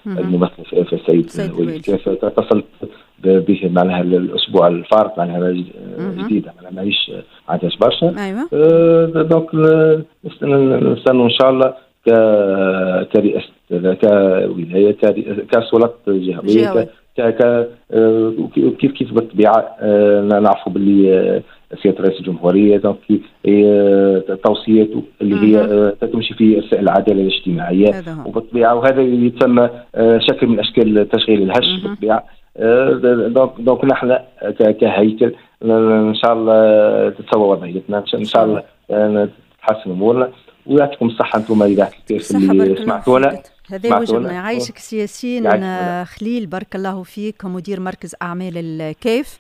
الممثل في السيد والي الكاف، اتصلت به معناها الاسبوع الفارط، معناها جديده، معناها ماهيش عندهاش برشا. Donc نستنوا ان شاء الله كرئاسه، كولايه، كسلطات جهويه، كيف كيف بالطبيعة نعرفوا باللي سيادة رئيس الجمهورية donc توصياته اللي هي تمشي في العدالة الاجتماعيه، وبالطبيعه وهذا يتسمى شكل من اشكال التشغيل الهش بالطبيعه. donc نحن كهيكل ان شاء الله تتسوى وضعيتنا، ان شاء الله تتحسن امورنا، ويعطيكم الصحة انتم اذاعة الكاف اللي سمعتونا. هذا واجبنا. يعيشك سي ياسين خليل، بارك الله فيك، مدير مركز أعمال الكاف.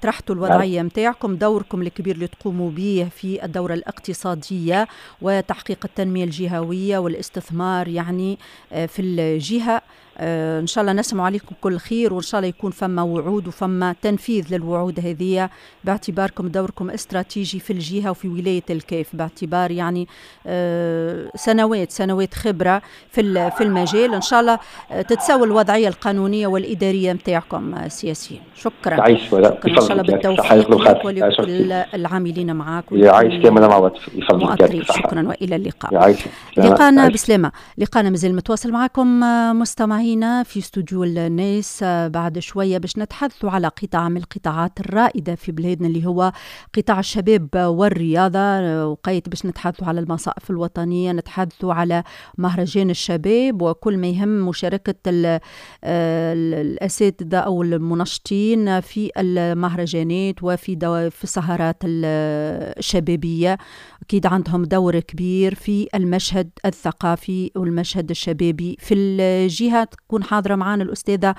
طرحتوا الوضعية متاعكم، دوركم الكبير اللي تقوموا به في الدورة الاقتصادية وتحقيق التنمية الجهوية والاستثمار يعني في الجهة. ان شاء الله نسمع عليكم كل خير، وان شاء الله يكون فما وعود وفما تنفيذ للوعود هذه، باعتباركم دوركم استراتيجي في الجهة وفي ولاية الكاف، باعتبار يعني سنوات سنوات خبره في المجال. ان شاء الله تتساوى الوضعية القانونية والادارية نتاعكم سي ياسين. شكرا. تعيش. شكرا، ان شاء الله بالتوفيق لك ولكل العاملين معك. يعيش كامل مع بعض. شكرا والى اللقاء. يعيش. لقانا بسلامه. لقانا مازال متواصل معكم مستمعينا في استوديو الناس بعد شوية باش نتحدثوا على قطاع من القطاعات الرائدة في بلادنا اللي هو قطاع الشباب والرياضة، وقيت باش نتحدثوا على المصائف الوطنية، نتحدثوا على مهرجان الشباب وكل ما يهم مشاركة الأساتذة أو المنشطين في المهرجانات وفي في السهرات الشبابية. أكيد عندهم دور كبير في المشهد الثقافي والمشهد الشبابي في الجهة. تكون حاضرة معنا الأستاذة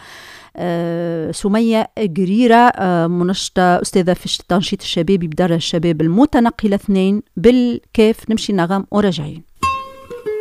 سمية قريرة، منشطة أستاذة في التنشيط الشبابي بدار الشباب المتنقلة 2 بالكاف. نمشي نغم وراجعين.